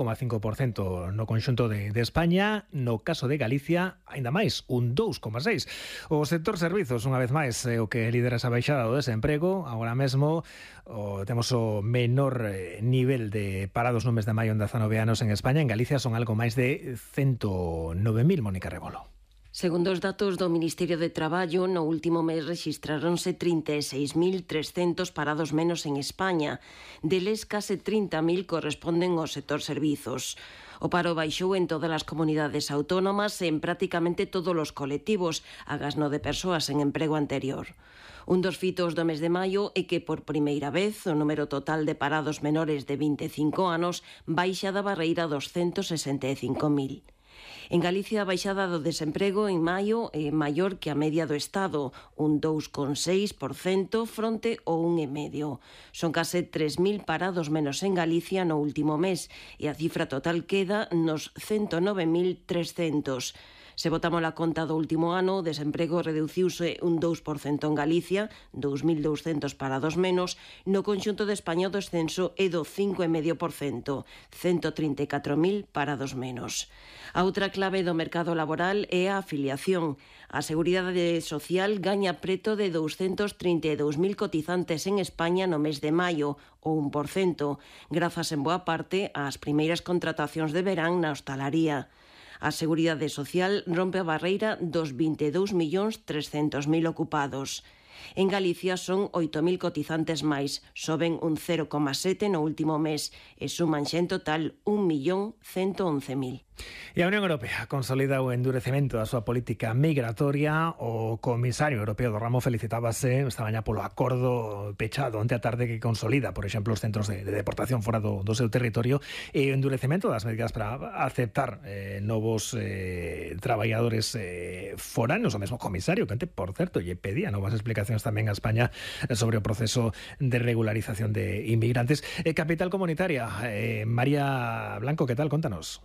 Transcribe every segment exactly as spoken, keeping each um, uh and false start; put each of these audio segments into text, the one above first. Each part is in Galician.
coma cinco por cento no conxunto de, de España. No caso de Galicia, aínda máis, un dous coma seis por cento. O sector servizos, unha vez máis, é o que lidera esa baixada do desemprego. Agora mesmo o, temos o menor eh, nivel de parados no mes de maio en dezanove anos en España. En Galicia son algo máis de ciento nove mil, Mónica Rebolo. Segundo os datos do Ministerio de Traballo, no último mes rexistráronse trinta e seis mil trescentos parados menos en España. Deles, case trinta mil corresponden ao sector servizos. O paro baixou en todas as comunidades autónomas e en prácticamente todos os colectivos, agás no de persoas en emprego anterior. Un dos fitos do mes de maio é que, por primeira vez, o número total de parados menores de vinte e cinco anos baixa da barreira dos ciento sesenta e cinco mil. En Galicia, a baixada do desemprego en maio é maior que a media do Estado, un dous coma seis por cento fronte ao un coma cinco por cento. Son case tres mil parados menos en Galicia no último mes e a cifra total queda nos ciento nove mil trescentos. Se botamos a conta do último ano, o desemprego reduciuse un dous por cento en Galicia, dous mil douscentos parados menos. No conxunto de España o descenso é do cinco coma cinco por cento, ciento trinta e catro mil parados menos. A outra clave do mercado laboral é a afiliación. A Seguridade Social gaña preto de douscentos trinta e dous mil cotizantes en España no mes de maio, o un por cento, grazas en boa parte ás primeiras contratacións de verán na hostalaría. A Seguridade Social rompe a barreira dos vinte e dous millóns trescentos mil ocupados. En Galicia son oito mil cotizantes máis, soben un cero coma sete no último mes e suman xa en total un millón ciento once mil. E a Unión Europea consolida o endurecemento da súa política migratoria. O comisario europeo do ramo felicitábase esta mañá polo acordo pechado onte a tarde que consolida, por exemplo, os centros de, de deportación fora do, do seu territorio e o endurecemento das medidas para aceptar eh, novos eh, traballadores eh, foranos. O mesmo comisario que, por certo, lle pedía novas explicacións tamén a España sobre o proceso de regularización de inmigrantes. Eh, capital comunitaria, eh, María Blanco, que tal? Contanos.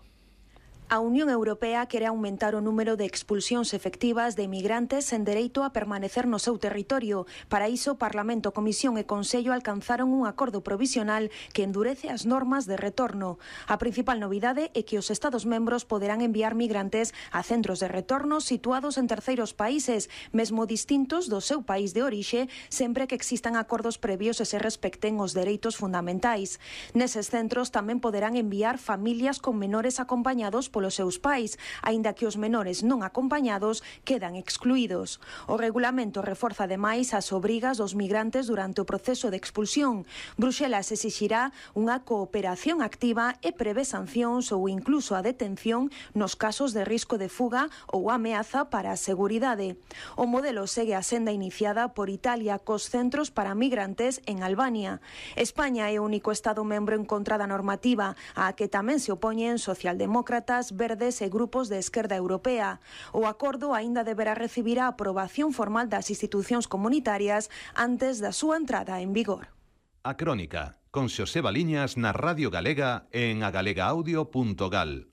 A Unión Europea quere aumentar o número de expulsións efectivas de emigrantes sen dereito a permanecer no seu territorio. Para iso, Parlamento, Comisión e Consello alcanzaron un acordo provisional que endurece as normas de retorno. A principal novidade é que os Estados membros poderán enviar migrantes a centros de retorno situados en terceiros países, mesmo distintos do seu país de orixe, sempre que existan acordos previos e se respecten os dereitos fundamentais. Neses centros tamén poderán enviar familias con menores acompañados polos seus pais, aínda que os menores non acompañados quedan excluídos. O regulamento reforza ademais as obrigas dos migrantes durante o proceso de expulsión. Bruxelas exixirá unha cooperación activa e prevé sancións ou incluso a detención nos casos de risco de fuga ou ameaza para a seguridade. O modelo segue a senda iniciada por Italia cos centros para migrantes en Albania. España é o único Estado membro en contra da normativa, a que tamén se opoñen socialdemócratas, verdes e grupos de esquerda europea. O acordo aínda deberá recibir a aprobación formal das institucións comunitarias antes da súa entrada en vigor. A Crónica, con Xoseba Liñas na Radio Galega en agalegaaudio punto gal.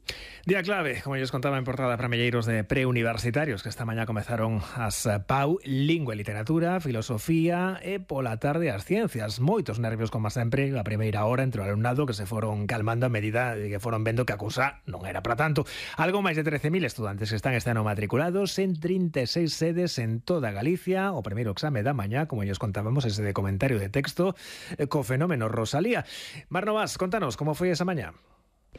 Día clave, como lles contaba en portada para melleiros de preuniversitarios que esta mañá comezaron as P A U, Lingua e Literatura, Filosofía e pola tarde as Ciencias. Moitos nervios, como sempre, a primeira hora entre o alumnado que se foron calmando a medida de que foron vendo que a cousa non era para tanto. Algo máis de trece mil estudantes que están este ano matriculados en trinta e seis sedes en toda Galicia. O primeiro exame da mañá, como lles contábamos, ese de comentario de texto, co fenómeno Rosalía. Mar Novas, contanos, como foi esa mañá?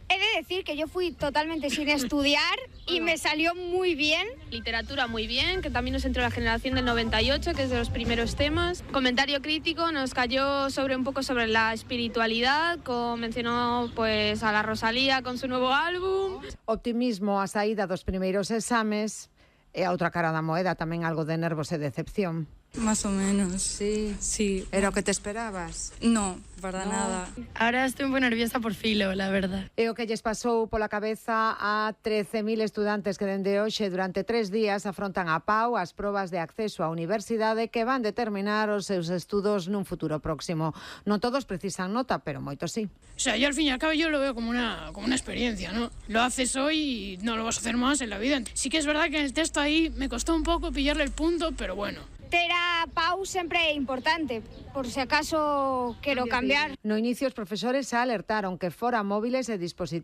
He de decir que yo fui totalmente sin estudiar y me salió muy bien. Literatura muy bien, que también nos entró la generación del noventa y ocho, que es de los primeros temas. Comentario crítico nos cayó sobre un poco sobre la espiritualidad, como mencionó pues a la Rosalía con su nuevo álbum. Optimismo a saída dos primeiros exames e a outra cara da moeda, tamén algo de nervos e decepción. Más o menos. Sí. Sí. ¿Era o que te esperabas? No, para No. nada. Ahora estoy muy nerviosa por filo, la verdad. E o que lles pasou pola cabeza a trece mil estudantes que dende hoxe durante tres días afrontan a P A U as probas de acceso á universidade que van determinar os seus estudos nun futuro próximo. Non todos precisan nota, pero moitos sí. O sea, yo al fin y al cabo yo lo veo como una, como una experiencia, ¿no? Lo haces hoy y no lo vas a hacer más en la vida. Sí que es verdad que en el texto ahí me costó un poco pillarle el punto, pero bueno. ter a Pau sempre é importante, por se acaso quero cambiar. No inicio os profesores alertaron que fora móviles e dispositivos